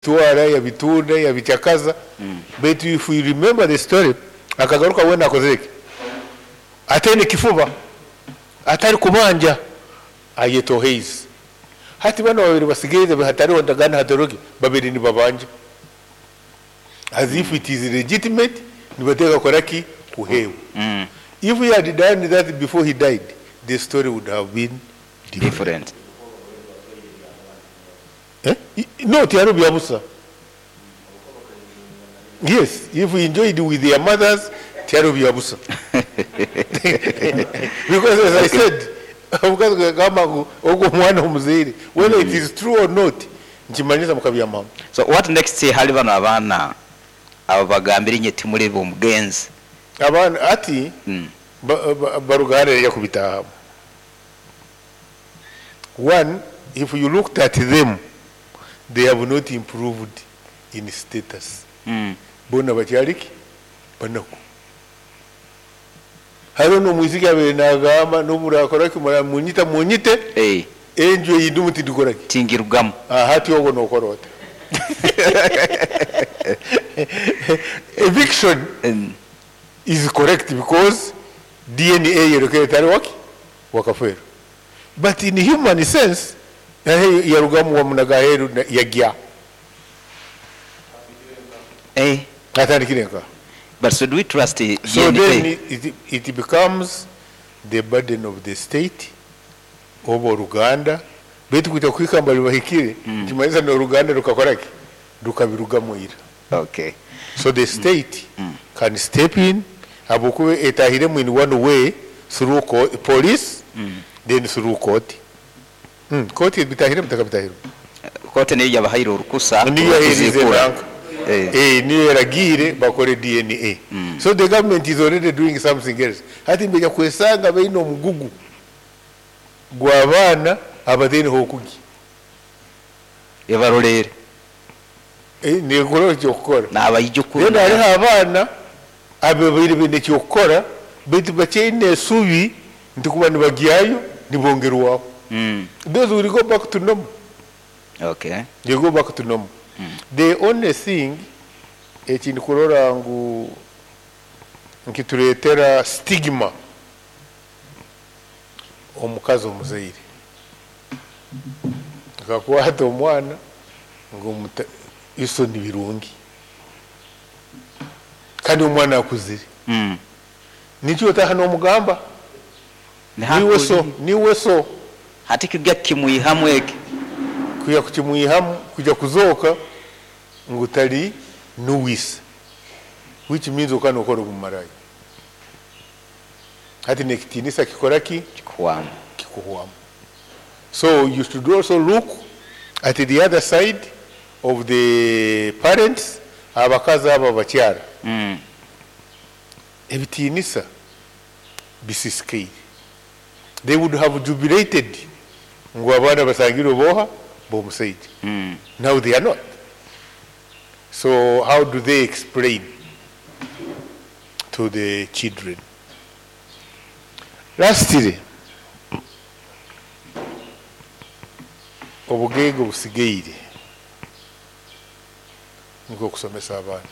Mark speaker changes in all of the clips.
Speaker 1: Yabitwara yabitunda yabikyakaza beitu if you remember the story akagaruka weena akozire ki? Ataine kifuba, atari kubanja ayetoheize. Hati banu ababaire basigaire hatariho ndagaano hatariho ki babaire nibabanja as if it is legitimate nibateekwa kukora ki? Kuheebwa. If he had done that before he died the story would have been different.
Speaker 2: Different.
Speaker 1: Eh? No, tihariho bya busa. Yes, if we enjoyed with their mothers, tihariho bya busa. Because as I said, omukazi kugamba ngu ogwo omwana omuzaire, whether it is true or not, nikimanyisa mukabyama hamwe.
Speaker 2: So what next hali bano abaana ababagambire inye timuli b'omugenzi?
Speaker 1: Abaana hati baruga hariya kubitaahamu. One, if you looked at them, they have not improved in status. Boona bakyari ki? Banaku. Hariho n'omwisiki abaire nagamba n'obu murakora ki, munyita munyite, enju ei ndimu tindikora ki?
Speaker 2: Tingirugamu.
Speaker 1: Hati obwo nokora ota? Eviction is correct because DNA eyorekire tari waki? Wakafeero. But in human sense, yarugamu wamunaga aheeru yagya. Atandikire nka.
Speaker 2: But so do we trust
Speaker 1: So
Speaker 2: DNA?
Speaker 1: then it becomes the burden of the state oba oruganda, beitu kwija kuhika ngu bahikire, nikimanyisa n'oruganda rukakora ki? Rukabirugamu ira. So the state can step in, ahabw'okuba etahiremu in one way through police, then through court. Court ebitahiremu tekabitahiremu.
Speaker 2: Kooti niyo yabahaire orukusa
Speaker 1: Niyo yaheerize
Speaker 2: rw'okuziikura.
Speaker 1: nanka. Niyo yaragiire bakore DNA. So the government is already doing something else. Hati nibaija kwesanga baine omugugu gw'abaana abataine h'okugya.
Speaker 2: Ebaroleere.
Speaker 1: Nekora eky'okukora.
Speaker 2: N'abaijukuru.
Speaker 1: Then hariho abaana ababaire baine eky'okukora beitu bakyaine esubi nti kuba nibagyayo nibongerwaho. Those will go back to normal. They go back to normal. The only thing eki ndikurora ngu nikitureetera stigma omukazi omuzaire akakwata omwana ngu iso ni birungi kandi omwana akuzire. Nikyo otaha n'omugamba niwe so, niwe so.
Speaker 2: Hati kujya kukimwihamu eki.
Speaker 1: Kujya kukimwihamu, kujya kuzooka ngu tari nuwise, which means okaba nokora obumaraya. Hati n'ekitiinisa kikora ki?
Speaker 2: Kikuhwamu.
Speaker 1: Kikuhwamu. So you should also look at the other side of the parents, abakazi abo abakyara. Ebitiinisa bisisikaire. They would have jubilated ngu abaana basangirwe boha b'omusaija. Now they are not. So how do they explain to the children? Lastly, obugaiga obusigaire nikwo kusomesa abaana.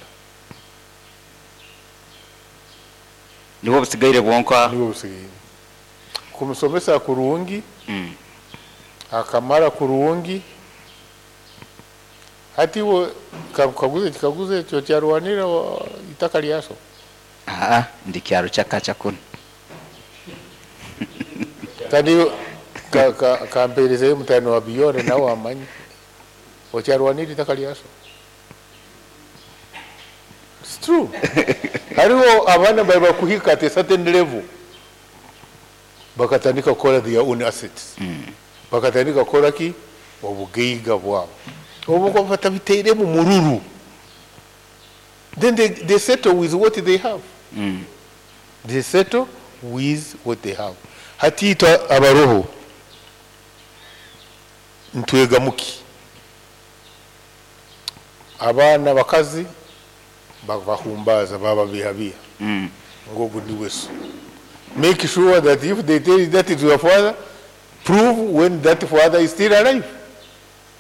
Speaker 2: Nibwo busigaire bwonka?
Speaker 1: Nibwo busigaire. Kumusomesa kurungi, akamara kurungi, hati iwe kaguze kikaguzo ekyo kyarwanira itaka lyaso?
Speaker 2: Aa, ndi kyaro kyakacha kunu.
Speaker 1: Kandi kampeerezeyo mutano wa Biyore nawe amanye. Okyarwanira itaka lyaso? It's true. Hariho abaana bari bakuhika at a certain level bakatandika kukora their own assets. Bakatandika kukora ki? Obugaiga bwabo. Obu batabiteiremu mururu. Then they settle with what they have. They settle with what they have. Hati itwe abaroho ntwegamuki. Abaana bakazi babahumbaza bababihabiha. Ngogu niwe so. Make sure that if they tell you that is your father, prove when that father is still alive.